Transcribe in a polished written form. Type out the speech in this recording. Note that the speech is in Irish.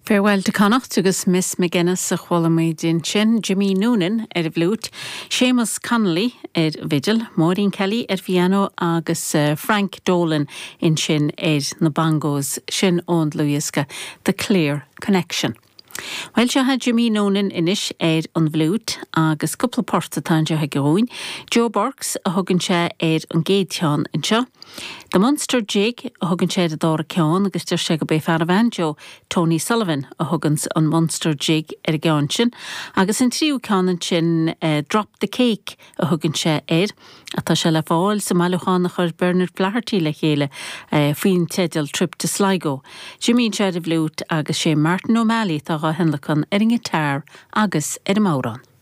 Farewell to Connacht agus Miss McGuinness a chuala muid ansin, Jimmy Noonan ar an bhfliúit, Séamus Connolly ar an bhfidil, Maureen Kelly ar phianó agus Frank Dolan ansin ar na bongos, sin ón dlúthdhiosca The Clear Connection. Bhuel, seo é Jimmy Noonan anois ar an bhfliúit agus cúpla port atá anseo aige dhúinn. Joe Burke's a thugann sé ar an gcéad cheann anseo. The Munster Jig a thugann sé ar an dara ceann agus deir sé gurb é fear an bhanjo, Tony Sullivan, a thuganns an Munster Jig ar an gceann sin. Agus an tríú ceann ansin, Drop the Cake a thugann sé air. Tá sé le fáil sa mbailiúchán a chuir Bernard Flaherty le chéile faoin teideal Trip to Sligo. Jimmy anseo ar an bhfliúit agus sé Martin O'Malley atá dhá thionlacan ar an ngiotár agus ar an mbodhrán.